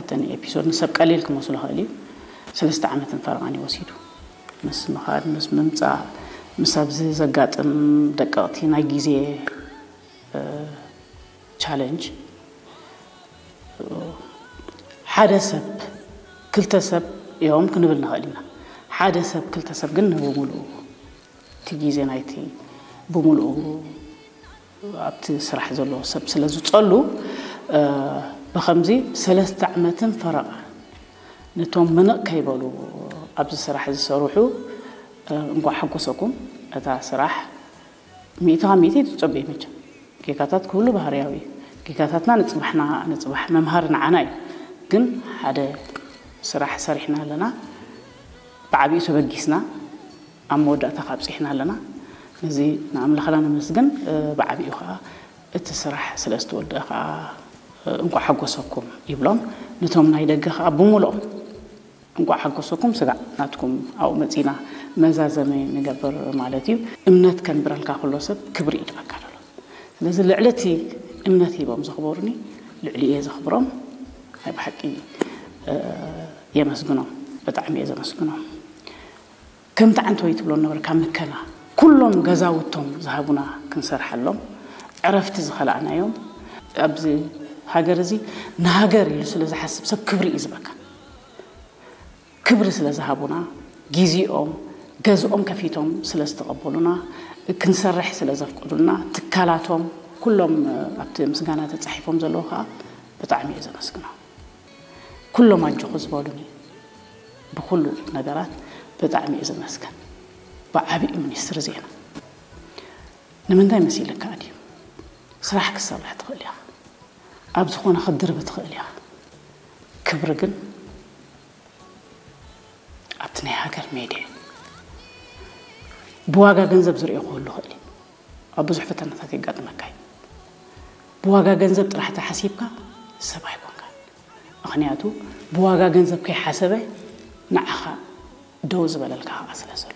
እተን ኤፒሶድ ንሰብ ቀሊል ክመስሎ ይኽእል እዩ። ሰለስተ ዓመትን ፈረቓን እዩ ወሲዱ። ምስ ምኻድ፣ ምስ ምምፃእ፣ ምስ ኣብዚ ዘጋጥም ደቀቕቲ ናይ ግዜ ቻለንጅ ሓደ ሰብ ክልተ ሰብ እዮም ክንብል ንኽእል ኢና። ሓደ ሰብ ክልተ ሰብ ግን ንብምሉኡ እቲ ግዜ ናይቲ ብምሉኡ ኣብቲ ስራሕ ዘለዎ ሰብ ስለ ዝፀሉ ብከምዚ ሰለስተ ዓመትን ፈረቓ ነቶም ምንቕ ከይበሉ ኣብዚ ስራሕ ዝሰርሑ እንኳዕ ሓጎሰኩም። እታ ስራሕ ሚእቲ ካብ ሚእቲ ትፀበዩ መቸም ጌጋታት ክህሉ ባህርያዊ እዩ። ጌጋታትና ንፅባሕና ንፅባሕ መምሃሪ ንዓና እዩ። ግን ሓደ ስራሕ ሰሪሕና ኣለና፣ ብዓብዩ ተበጊስና ኣብ መወዳእታ ካብፂሕና ኣለና። ነዚ ንኣምላኽና ነመስግን። ብዓብዩ ከዓ እቲ ስራሕ ስለ ዝተወደአ ከዓ እንኳዕ ሓጎሰኩም ይብሎም ነቶም ናይ ደገ ከዓ ብምልኦም። እንኳዕ ሓጎሰኩም ስጋዕ ናትኩም ኣብኡ መፂና መዛዘሚ ንገብር ማለት እዩ። እምነት ከንብረልካ ከሎ ሰብ ክብሪ ይድበካ ደሎ። ስለዚ ልዕሊ እቲ እምነት ሂቦም ዘኽበሩኒ ልዕሊ እየ ዘኽብሮም። ናይ ብሓቂ የመስግኖም፣ ብጣዕሚ እየ ዘመስግኖም። ከምቲ ዓንተወይ ትብሎ ነበርካ ምከና ኩሎም ገዛውቶም ዝሃቡና ክንሰርሓሎም ዕረፍቲ ዝኸላእናዮም ኣብዚ ሃገር እዚ ንሃገር ኢሉ ስለ ዝሓስብ ሰብ ክብሪ እዩ ዝበካ። ክብሪ ስለ ዝሃቡና፣ ግዜኦም፣ ገዝኦም ከፊቶም ስለ ዝተቐበሉና፣ ክንሰርሕ ስለ ዘፍቀዱልና፣ ትካላቶም ኩሎም ኣብቲ ምስጋና ተጻሒፎም ዘለዉ ከዓ ብጣዕሚ እየ ዘመስግኖም። ኩሎም ኣጆኹ ዝበሉኒ ብኩሉ ነገራት ብጣዕሚ እየ ዘመስግን። ብዓቢኡ ሚኒስትሪ ዜና ንምንታይ መሲልካ ድዩ? ስራሕ ክትሰርሕ ትኽእል ኢኻ። ኣብ ዝኾነ ክትድርቢ ትኽእል ኢኻ። ክብሪ ግን ኣብቲ ናይ ሃገር ሜድያ ብዋጋ ገንዘብ ዝርእዮ ክህሉ ይኽእል እዩ። ኣብ ብዙሕ ፈተናታት የጋጥመካ እዩ። ብዋጋ ገንዘብ ጥራሕ ተሓሲብካ ሰብ ኣይኮንካን። ምኽንያቱ ብዋጋ ገንዘብ ከይሓሰበ ንዓኻ ደው ዝበለልካ ከዓ ስለ ዘሎ።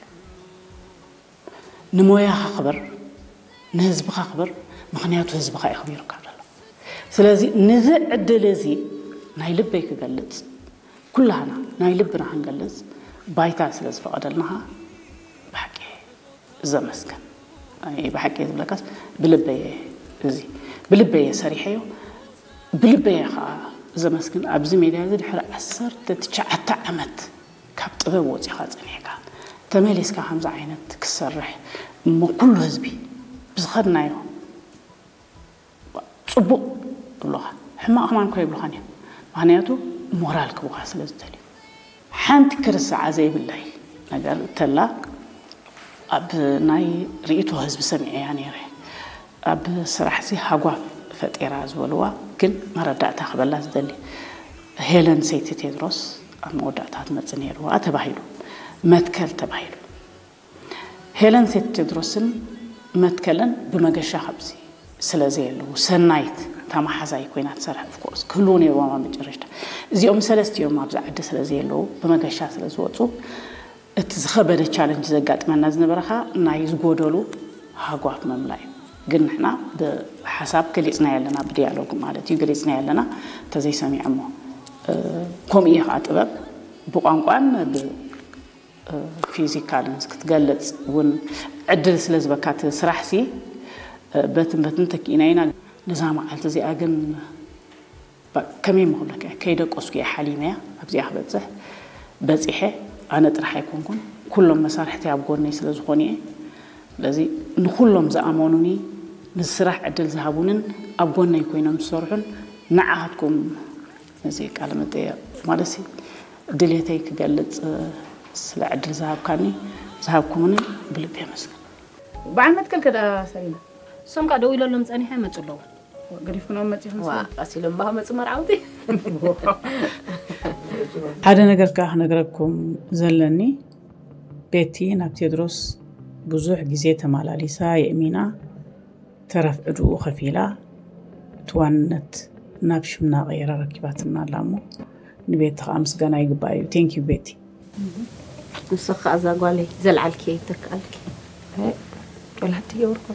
ንሞያኻ ክበር፣ ንህዝብኻ ክበር፣ ምኽንያቱ ህዝብኻ እዩ ኣኽቢሩካ ዘሎ። ስለዚ ንዚ ዕድል እዚ ናይ ልበይ ክገልጽ፣ ኩላህና ናይ ልብና ክንገልጽ ባይታ ስለ ዝፈቐደልና ብሓቂ ዘመስግን። ኣይ፣ ብሓቂ ዝብለካስ ብልበየ፣ እዚ ብልበየ ሰሪሐዮ፣ ብልበየ ከዓ ዘመስግን። ኣብዚ ሜድያ እዚ ድሕሪ ዓሰርተ ትሽዓተ ዓመት ካብ ጥበብ ወፂኻ ጸኒሕካ ተመሊስካ ከምዚ ዓይነት ክሰርሕ እሞ ኩሉ ህዝቢ ብዝኸድናዮ ጽቡቕ ይብሉኻ፣ ሕማቕ ከማን እኮ ይብሉኻን እዮም። ምኽንያቱ ሞራል ክቡኻ ስለ ዝደልዩ። ሓንቲ ክርስዓ ዘይብለይ ነገር እንተላ ኣብ ናይ ርእይቶ ህዝቢ ሰሚዐያ ነይረ። ኣብ ስራሕዚ ሃጓፍ ፈጢራ ዝበልዋ ግን መረዳእታ ክበላ ዝደሊ ሄለን ሰይቲ ቴድሮስ ኣብ መወዳእታ ትመጽእ ነይርዋ ተባሂሉ መትከል ተባሂሉ ሄለን ሴት ቴድሮስን መትከልን ብመገሻ ካብዚ ስለ ዘየለዉ ሰናይት እታ መሓዛይ ኮይና ትሰርሕ ኦፍኮርስ ክህልዉ ነይርዎም ኣብ መጨረሽታ። እዚኦም ሰለስቲኦም ኣብዚ ዓዲ ስለ ዘየለዉ ብመገሻ ስለ ዝወፁ እቲ ዝኸበደ ቻለንጅ ዘጋጥመና ዝነበረ ኸዓ ናይ ዝጎደሉ ሃጓፍ መምላ እዩ። ግን ንሕና ብሓሳብ ገሊፅና ኣለና፣ ብዲያሎግ ማለት እዩ ገሊፅና ኣለና። እንተዘይሰሚዖሞ ከምኡ እየ ከዓ ጥበብ ብቋንቋን ብ ፊዚካልንስ ክትገልጽ እውን ዕድል ስለ ዝበካ እቲ ስራሕሲ በትን በትን ተኪእና ኢና። ነዛ መዓልቲ እዚኣ ግን ከመይ ምክብለካ እየ ከይደቀስኩ እየ ሓሊመያ ኣብዚኣ ክበፅሕ በፂሐ። ኣነ ጥራሕ ኣይኮንኩን፣ ኩሎም መሳርሕቲ ኣብ ጎነይ ስለ ዝኾኑ እየ። ስለዚ ንኩሎም ዝኣመኑኒ፣ ንስራሕ ዕድል ዝሃቡንን ኣብ ጎነይ ኮይኖም ዝሰርሑን ንዓኻትኩም እዚ ቃለ መጠየቕ ማለት ድሌተይ ክገልጽ ስለ ዕድል ዝሃብካኒ ዝሃብኩምኒ ብልቢ የመስግን። በዓል መትከል ከዳ ሰሪና እሶም ከዓ ደው ኢለሎም ጸኒሐ መጹ ኣለዉ። ገዲፍኩኖም መጺኹም ዋ ቀሲሎም ባህ መጹ መርዓውቲ። ሓደ ነገር ከዓ ክነግረኩም ዘለኒ ቤቲ ናብ ቴድሮስ ብዙሕ ግዜ ተመላሊሳ የእሚና ተረፍ ዕድኡ ከፊላ እቲ ዋንነት ናብ ሽምና ቀይራ ረኪባትና ኣላ እሞ ንቤቲ ከዓ ምስጋና ይግባእ እዩ። Thank you ቤቲ። ንስኻ እዛ ጓለይ ዘልዓልኪ ይተክኣልኪ። ጦላት ትገብርኮ